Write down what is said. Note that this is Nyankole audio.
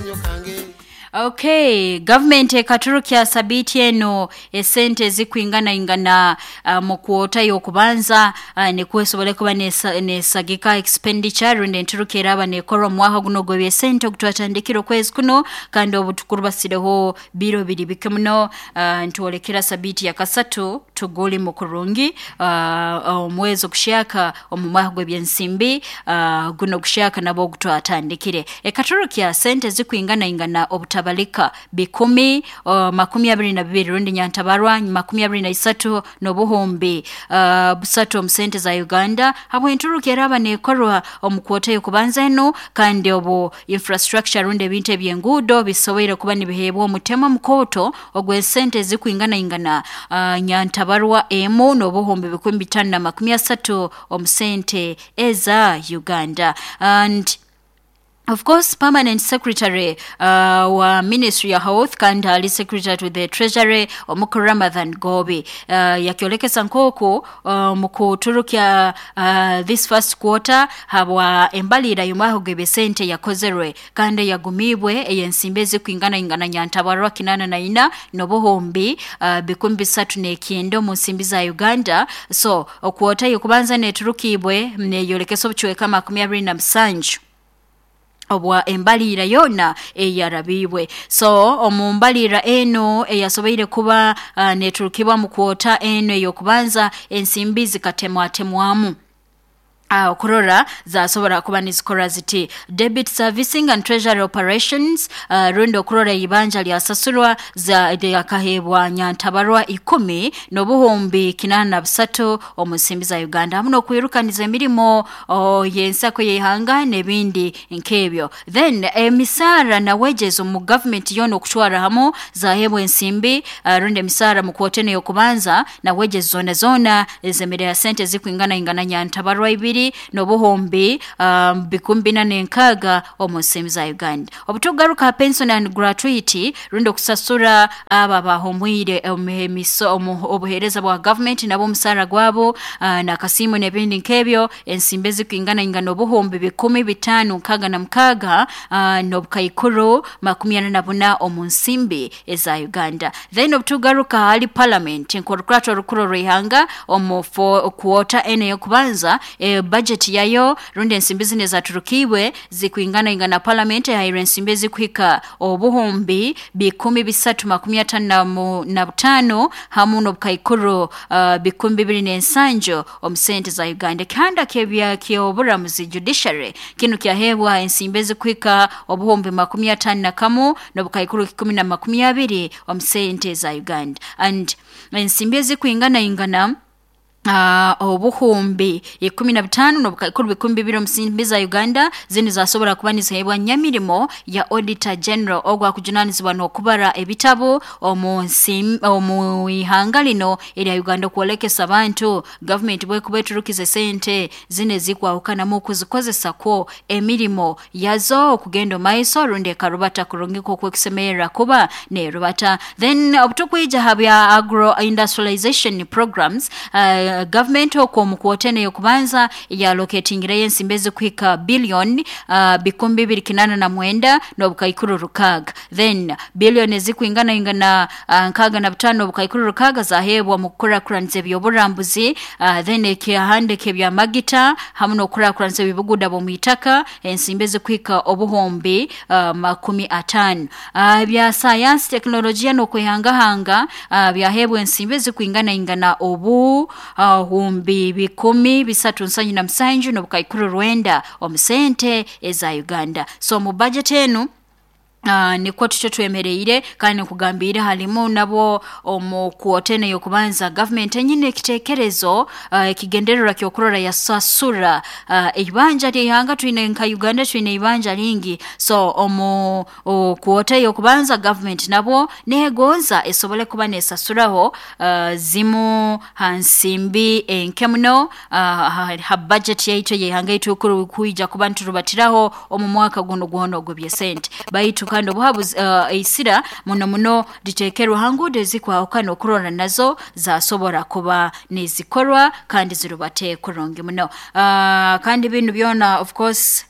Akazanyo kange. Okay, gavumenti ekaturukya sabiiti eno esente ezikwinganaingana mu kwota y'okubanza nikwo esobole kuba nesagika expenditure rundi enturuka eraaba nekorwa omu mwaka guno ogw'ebyesente ogutwatandikire okwezi kuno kandi obu tukurubasireho biro biri bike muno nitwolekera sabiiti ya kasatu tugulimu kurungi omwezi oguhyaka omu mwaka gw'ebyensimbi guno oguhyaka nabwo ogutwatandikire. Ekaturukya sente ezikwinganaingana obutabalika bikumi 22 rundi nyantabarwa 23 n'obuhumbi busatu omu sente za Uganda habw'enturuka eraaba neekorwa omu kwota y'okubanza enu kandi obu infrastructure rundi ebintu eby'enguudo bisoboire kuba nibiheebwa omutema mukooto ogw'esente ezikwinganaingana nyantabarwa emu n'obuhumbi 530 omu sente eza Uganda. And of course, Permanent Secretary wa Ministry ya Health kandi ali Secretary to the Treasury Omukuru Ramadhan Gobi yakyolekesa nk'oku mu kuturukya this first quarter habwa embalirira y'omwaka gw'ebyesente yakozerwe kandi eyagumiibwe ey'ensimbi ezikwinganaingana nyantabarwa 84 n'obuhumbi 309 omu nsimbi za Uganda. So okwota y'okubanza neeturukiibwe neeyolekesa obucweka 27 obwa embalirira yoona eyarabiibwe. So omu mbalirira enu eyasoboire kuba neeturukibwa mu kwota enu ey'okubanza ensimbi zikatemwatemwamu okurora zasobora kuba nizikora ziti debit servicing and treasury operations, rundi okurora ibanja lyasasurwa lyakaheebwa nyantabarwa 10 n'obuhumbi 83 omu nsimbi za Uganda hamu n'okwirukaniza emirimo y'ensako y'ihanga n'ebindi nk'ebyo. Then emisaara na wages omu gavumenti yoona okutwara hamu zaheebwa ensimbi, rundi emisaara mu kwota enu ey'okubanza na wages zoona zoona ezemerera sente ezikwinganaingana nyantabarwa 2 n'obuhumbi 406 omu nsimbi za Uganda. Obutugaruka ha pension and gratuity rundi okusasura abo abahumwire obuheereza bwa gavumenti nabo omusaara gwabo n'akasiimo n'ebindi nk'ebyo ensimbi ezikwinganaingana obuhumbi 566 n'obukaikuru 44 omu nsimbi eza Uganda. Then obutugaruka hali parliament nk'orukurato orukuru orw'ihanga omu kwota enu ey'okubanza budget yayo rundi ensimbi zinu ezaturukiibwe zikwinganaingana parliament ehairwe ensimbi ezikuhika obuhumbi 355 hamu n'obukaikuru 207 omu sente za Uganda. Ekihanda ky'oburamuzi judiciary kinu kyaheebwa ensimbi ezikuhika obuhumbi 51 n'obukaikuru 120 omu sente za Uganda. And ensimbi ezikwinganaingana obuhumbi 15 n'obukaikuru 20 omu nsimbi za Uganda zinu zasobora kuba niziheebwa nyamirimo ya Auditor General ogwakujunanizibwa n'okubara ebitabu omu ihanga lino erya Uganda okwolekesa abantu gavumenti bwekuba eturukize sente zinu ezikwahukanamu okuzikozesa kwo emirimo yazo okugenda omu maiso rundi ekarubata kurungi nk'oku ekusemerera kuba neerubata. Then obutukwija ha bya agro industrialization programs, gavumenti okwo omu kwota enu ey'okubanza yaloketingireyo ensimbi ezikuhika billion 289 n'obukaikuru 6. Then billion ezikwinganaingana 65 n'obukaikuru 6 zaheebwa mu kukurakuraniza eby'oburambuzi, then ekihandika ebyamagita hamu n'okukurakuraniza eby'obuguuda bw'omu itaka ensimbi ezikuhika obuhumbi 50. Ebya sayansi, tekinologiya n'okwehangahanga byaheebwa ensimbi ezikwinganaingana obuhumbi 377 n'obukaikuru 9 omu sente eza Uganda. So mu budget enu nikwo tutyo twemereire kandi nkugambiire halimu nabwo omu kwota enu ey'okubanza gavumenti enyine ekiteekerezo ekigendererwa ky'okurora yasasura eibanja ly'ihanga. Twine nka Uganda twine eibanja lingi, so omu kwota ey'okubanza gavumenti nabwo neegonza esobole kuba neesasuraho zimu ha nsimbi enke muno ha budget yaitu ey'ihanga yaitu kwija kuba niturubatiraho omu mwaka guno gwona ogw'ebyesente. Baitu kandi obuhabuzi eisira muno muno liteekerwe ha nguudo ezikwahukana okurora nazo zasobora kuba nizikorwa kandi zirubate kurungi muno. Kandi binu byona of course